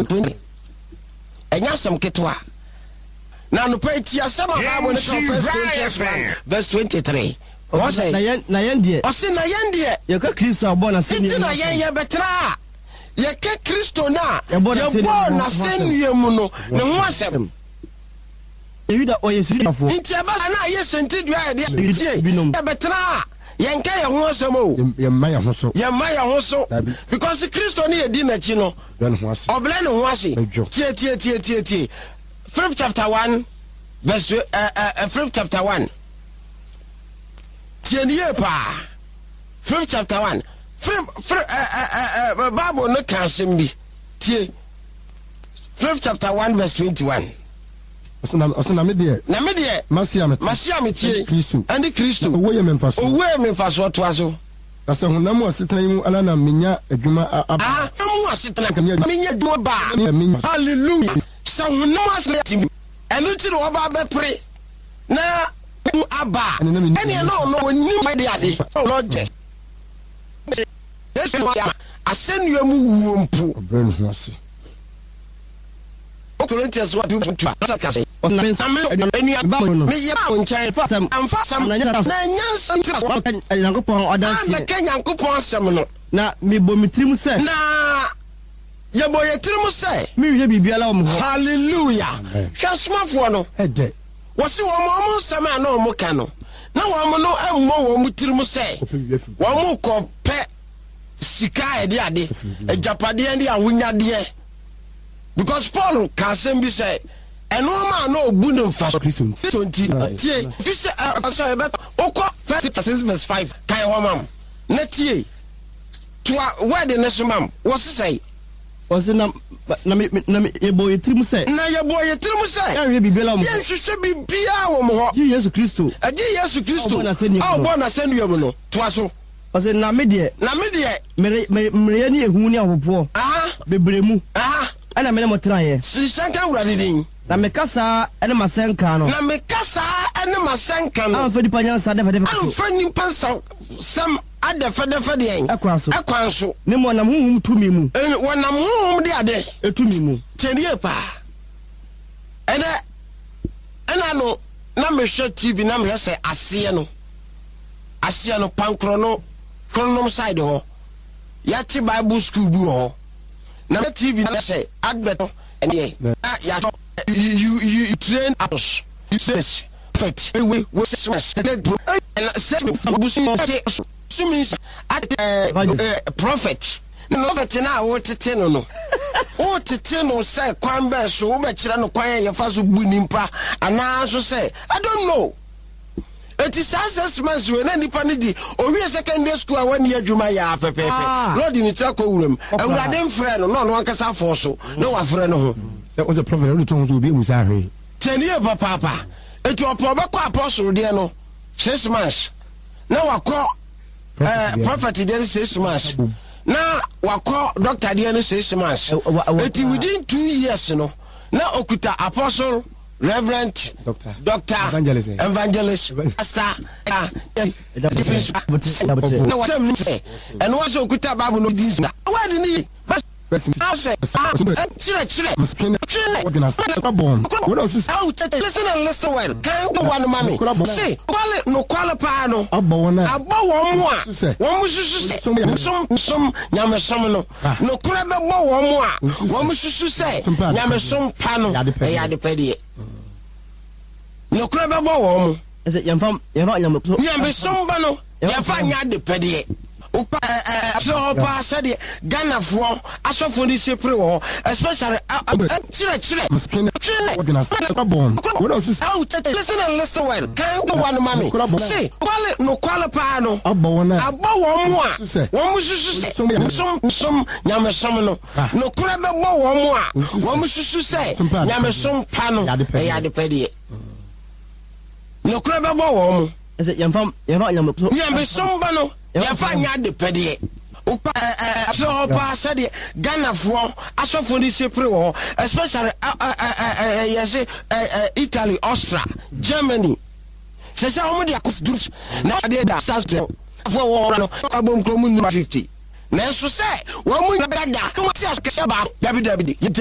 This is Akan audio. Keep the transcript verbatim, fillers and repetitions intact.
one twenty. Ɛnyɛ asɛm ketewa. Na anɔpa yi, ti asɛm a Bible no ka, First Corinthians one verse twenty-three. Wɔn Na sɛ yɛn na yɛn deɛ, ɔsi na yɛn deɛ, yɛka Kristo a ɔbɔɔ n'asɛnnua nti mu na asɛm. yɛn yɛbɛtena a yɛka Kristo no a Yɛbɔ n'asɛnnua yɛbɔɔ mu ho n'asɛnnua mu no ne ho asɛm. Yuda ɔyɛ Yudafoɔ. Nti ɛbɛ sa na ayɛ sɛntidua a yɛde tie Binom. yɛbɛtena a yɛnka yɛn ho asɛm o. Yɛmma yɛn ho so. Yɛmma yɛn ho so. Dabi. Because Kristo ne yɛdi n'akyi no, brɛ ne ho ase. Ɔbrɛ ne ho ase. Ɛdwo. Tie, tie, tie, tie, tie. Philip chapter one verse two, uh, uh, Philip chapter one, tie ne yie paa. Philip chapter one, Philip, Philip, uh, uh, uh, Bible no ka asɛm bi. Tie Philip chapter one verse twenty-one. Ɔsɛ na ɔsɛ na me deɛ, Na me deɛ, mase a mete mase a metie ɛne Kristo. Ɛne Kristo. Owó yɛ me mfasoɔ. Owó yɛ me mfasoɔ. Toa so. Na sɛ honam mu asetena yi mu ala na menya adwuma a- aba Ah, mu asetena Nka menya menya adwuma baa. Menya- Hallelujah! Sɛ honam asetena ɛno nti na wɔba bɛpere na mu aba a, Ɛne na menni- ɛneɛ na ɔno ɔnim de ade. Lord Yesu asɛnnua mu wuo mpo, ɔbrɛ ne ho ase. Corinthians one two two a ka sɛ Na me nsa na me enua ba mo no, meyɛ ba wo nkyɛn fa asɛm amfa asɛm na nyɛ na nyansa nti wɔka Nyankopɔn ɔdanseɛ. Amɛka Nyankopɔn asɛm no. Na mebɔ me tirim sɛ na yɛbɔ yɛ tirim sɛ menhwɛ biribiara wɔ mo hɔ. Hallelujah! Amen. Hwɛ, asomafoɔ no, ɛdɛ wɔsi wɔn wɔn nsɛm a na wɔn ka no, na wɔn no mmɔ wɔn tirim sɛ kɔpɛ biribi afiri wɔn kɔ pɛ sika a yɛde ade, agyapadeɛ ne ahonyadeɛ, because Paul ka asɛm bi sɛ ɛnoɔma a na ɔbu ne mfa so Kristo nti. Kristo nti. Tie, fi sɛ ɛ sɛ ɛbɛ wokɔ First Peter six verse five kan hɔ mam na tie toa word ne so mam wɔ sisɛn. Ɔsɛ na na me na me yɛbɔ yɛ tirim sɛ na yɛbɔ yɛ tirim sɛ yɛnhwɛ biribiara wɔ mo hɔ yɛnhwehwɛ biribiara wɔ mo hɔ gye Yesu Kristo agye Yesu Kristo a ɔbɔɔ n'asɛnnua mu a no. ɔbɔɔ n'asɛnnua mu no. Toa so. Ɔsɛ na me deɛ, Na me deɛ, mere mere mmerɛyɛ ne ehu ne ahopopoɔ aha bebree mu aha ɛna me ne mo tenaeɛ. Nhyira nka Awurade din. Na meka saa ɛne m'asɛnka no na meka saa ɛne m'asɛnka no amfa nipa nyansa dɛfɛdɛfɛ so amfa nipa nsa sɛm adɛfɛdɛfɛ deɛn ɛkwan so ɛkwan so. Ne mu ɔnam honhom tumi mu. Ɛn- wɔnam honhom de ade ɛtumi mu. Tiɛnie paa. Ɛnɛ ɛna no na mehwɛ T V na mehwɛ sɛ aseɛ no aseɛ no pankorɔ no kronom side hɔ yɛte Bible school bi wɔ hɔ na mehwɛ T V na sɛ advert no ɛneɛ na yɛatɔ you you you train us, you train prophet we we six months ɛna sɛ obusu sumi ate ɛɛ prophet na prophet na a wotete no no wotete no sɛ kwan bɛɛ so wobɛkyerɛ no kwan a yɛfa so bu nipa anaa so sɛ I don't know. Eti saa six months wei na nipa no di owie secondary school a wani adwuma yɛ a pɛpɛɛpɛ Ah. na ɔde ne tiri akɔ wuram. Ɔkora. Awurade mfrɛ no na ɔno ankasa afɔ so na wafrɛ no ho. Sɛ wosɛ prophet wode to ho so obi amu saa hwee. Tiɛni yɛ papaapa. Eti ɔpɛ ɔbɛkɔ apostle deɛ no six months na wakɔ ɛɛ prophet deɛ no six months na wakɔ doctor deɛ no six months. Ɛ- wa- wa- Eti within two years no na okuta apostle, reverend, Doctor. doctor, Evangelist. evangelist, pastor, ah, na wasɛm ni sɛ ɛno wa sɛ okuta Bible no di nsu wɛdi ni asɛ kyerɛkyerɛ. Listen and listen well. Kan wa no ma me se nokwale nokwale paa no abɔ wɔn a abɔ wɔn mu a Susɛ. Wɔn mu susu sɛ som som nyamesom no nokorɛ bɛbɔ wɔn mu a wɔn mu susu sɛ Som pa. Nyamesom pa no Yɛ ade pɛ. Ɛyɛ adepɛdeɛ. Nokorɛ bɛbɔ wɔn mu. Ɛsɛ yɛmfa yɛmfa nyame Nyamesom ba no yɛmfa nyɛ adepɛdeɛ. Wokɔ kyerɛ hɔ paa sɛdeɛ Ghanafoɔ asɔfoɔ no si pere wɔ hɔ, especially kyerɛkyerɛ. Listen and listen well. Kan wa no ma me se nokwale nokwale paa no abɔ wɔn a abɔ wɔn mu a Susɛ. Wɔn mu susu sɛ som som nyamesom no nokorɛ bɛbɔ wɔn mu a wɔn mu susu sɛ Som pa. Nyamesom pa no Yɛ adepɛdeɛ. Ɛyɛ adepɛdeɛ. Nokorɛ bɛbɔ wɔn mu. Ɛsɛ yɛmfa yɛmfa nyame Nyamesom ba no yɛmfa nyɛ adepɛdeɛ. Wokɔ kyerɛ hɔ paa sɛdeɛ Ghanafoɔ asɔfoɔ no si pere wɔ hɔ, especially yɛse Italy, Austria, Germany sɛ sɛ wɔn de akɔ duru na adeɛ da stars foɔ wɔ hɔ no abom kurom nnipa fifty, nanso sɛ wɔn mu nyinaa da wɔn ti akɛseɛ baako, dabi dabi, yɛgye.